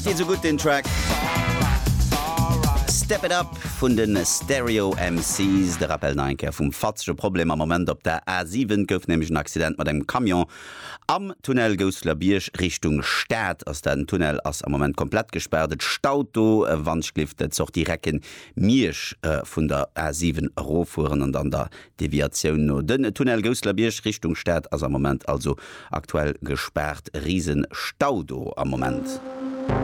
Gefält dir sou gutt den Track Step It Up vun de Stereo MCs? De Rappel nach eng Kéier vum fatzege Problem am Moment op der A7. Et gouf nämlech en Accident mat engem Camion am Tunnel Gousselerbierg Richtung Stad ass dat. Den Tunnel ass am Moment komplett gespaart. Et staut do, wann ech gelift d'Sortie Recken Miersch vun der A7 eroffueren an dann der Deviatioun no. Den Tunnel Gousselerbierg Richtung Stad ass am Moment also aktuell gespaart. Riesen Stau do am Moment.